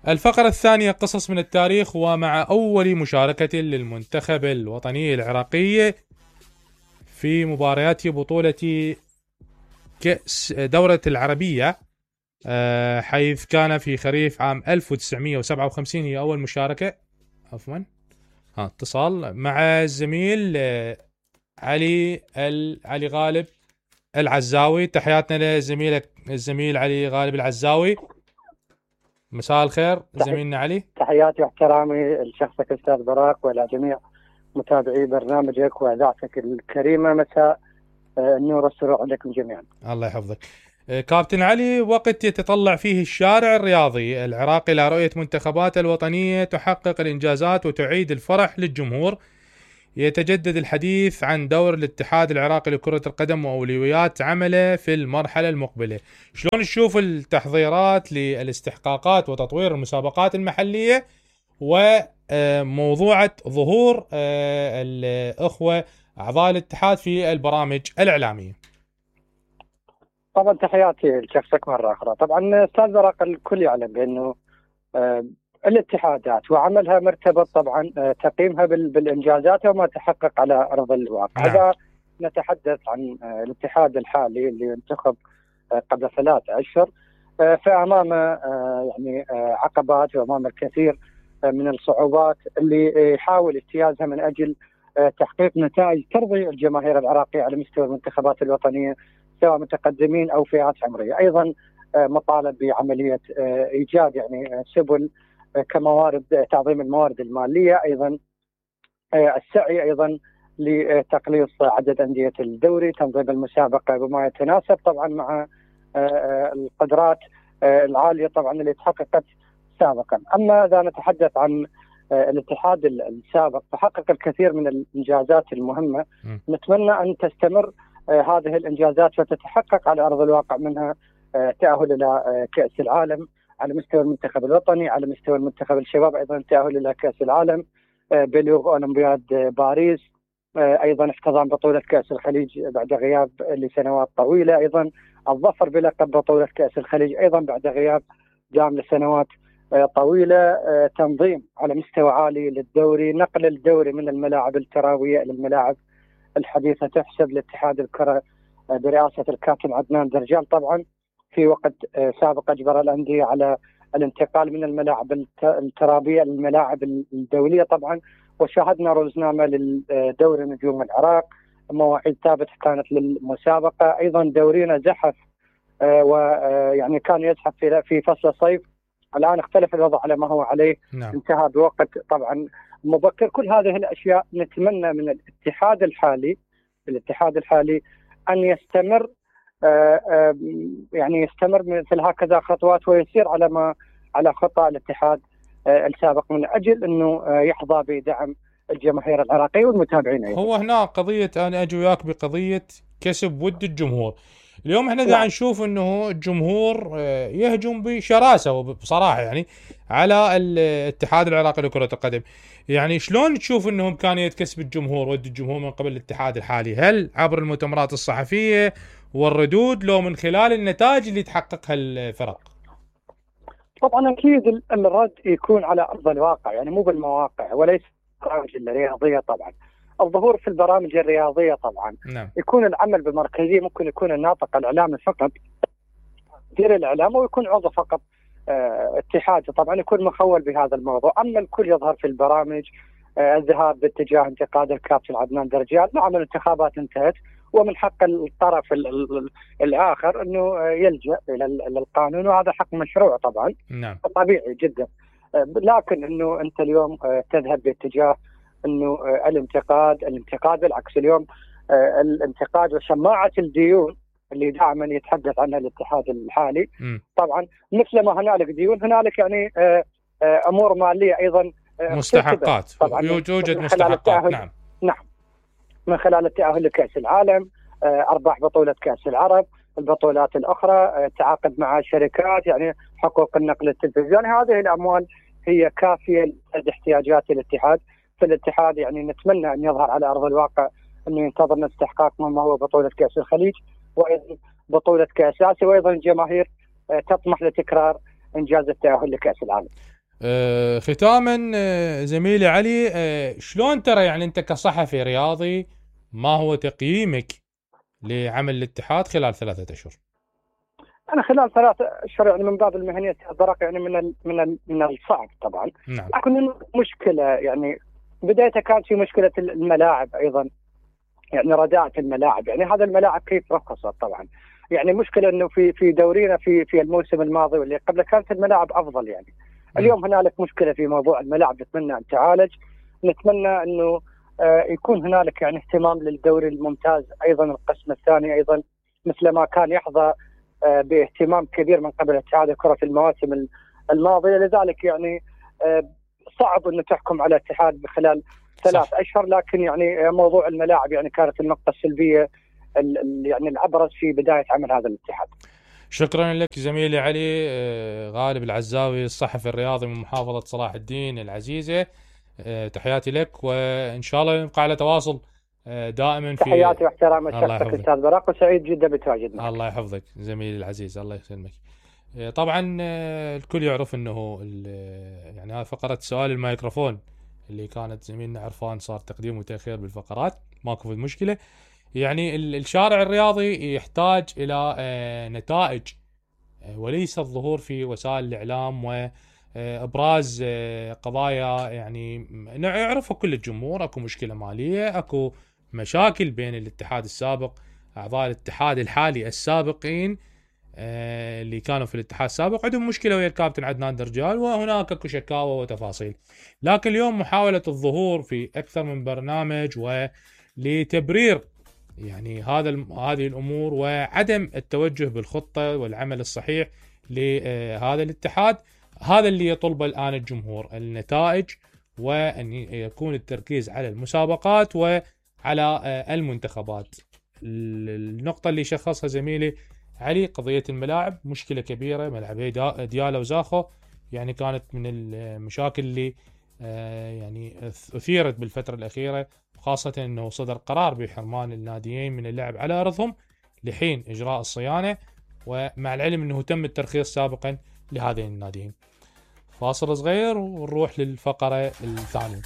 الفقرة الثانية قصص من التاريخ، ومع أول مشاركة للمنتخب الوطني العراقي في مباريات بطولة كأس دورة العربية، حيث كان في خريف عام 1957 هي أول مشاركة. عفوا اتصال مع الزميل علي غالب العزاوي. تحياتنا لزميلك الزميل علي غالب العزاوي. مساء الخير زميلنا علي. تحياتي واحترامي لشخصك استاذ براق والى جميع متابعي برنامجك واذاعتك الكريمه. مساء النور والسرور عليكم جميعا. الله يحفظك. كابتن علي، وقت يتطلع فيه الشارع الرياضي العراقي إلى رؤية منتخباته الوطنية تحقق الإنجازات وتعيد الفرح للجمهور، يتجدد الحديث عن دور الاتحاد العراقي لكرة القدم وأولويات عمله في المرحلة المقبلة. شلون تشوف التحضيرات للاستحقاقات وتطوير المسابقات المحلية وموضوعة ظهور الأخوة أعضاء الاتحاد في البرامج الإعلامية؟ طبعا تحياتي لشخصك مرة أخرى. طبعا أستاذ براق الكل يعلم بأنه الاتحادات وعملها مرتبط طبعا تقييمها بالإنجازات وما تحقق على أرض الواقع. إذا نتحدث عن الاتحاد الحالي اللي انتخب قبل 3 أشهر، فأمامه يعني عقبات وأمامه الكثير من الصعوبات اللي يحاول اجتيازها من أجل تحقيق نتائج ترضي الجماهير العراقية على مستوى المنتخبات الوطنية، سواء متقدمين أو فئات عمرية. أيضا مطالب بعملية إيجاد يعني سبل كموارد تعظيم الموارد المالية، أيضا السعي أيضا لتقليص عدد أندية الدوري، تنظيم المسابقة بما يتناسب طبعا مع القدرات العالية طبعا اللي تحققت سابقا. أما إذا نتحدث عن الاتحاد السابق فحقق الكثير من الإنجازات المهمة، نتمنى أن تستمر هذه الإنجازات وتتحقق على أرض الواقع، منها تأهل إلى كأس العالم على مستوى المنتخب الوطني، على مستوى المنتخب الشباب أيضا تأهل إلى كأس العالم، بلوغ أولمبياد باريس، أيضا احتضان بطولة كأس الخليج بعد غياب لسنوات طويلة، أيضا الظفر بلقب بطولة كأس الخليج أيضا بعد غياب دام لسنوات طويلة، تنظيم على مستوى عالي للدوري، نقل الدوري من الملاعب التراوية إلى الملاعب الحديثة. تحسب لاتحاد الكرة برئاسة الكابتن عدنان درجال طبعا في وقت سابق أجبر الأندية على الانتقال من الملاعب الترابية للملاعب الدولية طبعا، وشاهدنا روزنامة للدوري نجوم العراق، مواعيد ثابتة كانت للمسابقة. أيضا دورينا زحف ويعني كان يزحف في فصل الصيف، الآن اختلف الوضع على ما هو عليه. نعم. انتهى بوقت طبعا مبكر. كل هذه الأشياء نتمنى من الاتحاد الحالي أن يستمر، يعني يستمر مثل هكذا خطوات ويسير على خطى الاتحاد السابق من أجل أنه يحظى بدعم الجماهير العراقية والمتابعين أيضا. هو هنا قضية أنا أجي وياك بقضية كسب ود الجمهور. اليوم احنا قاعد نشوف انه الجمهور يهجم بشراسة وبصراحة يعني على الاتحاد العراقي لكرة القدم. يعني شلون تشوف انه إمكانية كسب الجمهور ود الجمهور من قبل الاتحاد الحالي؟ هل عبر المؤتمرات الصحفية والردود، لو من خلال النتائج اللي تحققها الفرق؟ طبعا اكيد الرد يكون على ارض الواقع، يعني مو بالمواقع وليس البرامج الرياضية. طبعا الظهور في البرامج الرياضية طبعا نعم. يكون العمل بمركزية، ممكن يكون الناطق الإعلامي فقط مدير الإعلام، ويكون عضو فقط اتحاد طبعا يكون مخول بهذا الموضوع. أما الكل يظهر في البرامج، الذهاب باتجاه انتقاد الكابتن عدنان درجال. نعم الانتخابات انتهت ومن حق الطرف الآخر أنه يلجأ إلى القانون، وهذا حق مشروع طبعا. نعم. طبيعي جدا، لكن أنه أنت اليوم تذهب باتجاه انه الانتقاد بالعكس. اليوم الانتقاد وشماعه الديون اللي دائما يتحدث عنها الاتحاد الحالي، طبعا مثل ما هنالك ديون هنالك يعني امور ماليه ايضا، مستحقات طبعا يوجد مستحقات. نعم من خلال التاهل لكاس العالم، ارباح بطوله كاس العرب، البطولات الاخرى، تعاقد مع شركات، يعني حقوق النقل التلفزيوني. هذه الاموال هي كافيه لاحتياجات الاتحاد. فالاتحاد يعني نتمنى أن يظهر على أرض الواقع أنه ينتظرنا استحقاق ما هو بطولة كأس الخليج وأيضا بطولة كأس آسيا، وأيضا الجماهير تطمح لتكرار إنجاز التأهل لكأس العالم. ختاما زميلي علي، شلون ترى يعني انت كصحفي رياضي ما هو تقييمك لعمل الاتحاد خلال 3 اشهر؟ انا خلال 3 اشهر يعني من باب المهنيه البرق يعني من الصعب طبعا. نعم. لكن مشكله يعني بدايتها كانت في مشكله الملاعب ايضا، يعني رداءة الملاعب، يعني هذا الملاعب كيف رخصت طبعا. يعني مشكله انه في دورينا في الموسم الماضي واللي قبله كانت الملاعب افضل يعني. اليوم هنالك مشكله في موضوع الملاعب، نتمنى ان تعالج. نتمنى انه يكون هنالك يعني اهتمام للدوري الممتاز ايضا، القسم الثاني ايضا مثل ما كان يحظى باهتمام كبير من قبل اتحاد الكره في المواسم الماضيه. لذلك يعني صعب انه تحكم على الاتحاد خلال 3 اشهر، لكن يعني موضوع الملاعب يعني كانت النقطه السلبيه يعني الابرز في بدايه عمل هذا الاتحاد. شكرا لك زميلي علي غالب العزاوي، الصحفي الرياضي من محافظة صلاح الدين العزيزة. تحياتي لك، وإن شاء الله نبقى على تواصل دائما. في تحياتي واحترام شخصك أستاذ براق، وسعيد جدا بتواجد معك. الله يحفظك زميلي العزيز، الله يسلمك. طبعا الكل يعرف انه يعني هذه فقرة سؤال الميكروفون اللي كانت زميلنا عرفان صار تقديم وتأخير بالفقرات، ماكو مشكلة. يعني الشارع الرياضي يحتاج إلى نتائج وليس الظهور في وسائل الإعلام وإبراز قضايا يعني يعرفها كل الجمهور. أكو مشكلة مالية، أكو مشاكل بين الاتحاد السابق، أعضاء الاتحاد الحالي السابقين اللي كانوا في الاتحاد السابق عندهم مشكلة ويا الكابتن عدنان درجال، وهناك اكو شكاوى وتفاصيل. لكن اليوم محاولة الظهور في أكثر من برنامج ولتبرير يعني هذه الأمور وعدم التوجه بالخطة والعمل الصحيح لهذا الاتحاد، هذا اللي يطلبه الآن الجمهور، النتائج، وأن يكون التركيز على المسابقات وعلى المنتخبات. النقطة اللي شخصها زميلي علي قضية الملاعب مشكلة كبيرة، ملعبي ديالا وزاخو يعني كانت من المشاكل اللي يعني أثيرت بالفترة الأخيرة، خاصة أنه صدر قرار بحرمان الناديين من اللعب على أرضهم لحين إجراء الصيانة، ومع العلم أنه تم الترخيص سابقا لهذين الناديين. فاصل صغير ونروح للفقرة الثانية.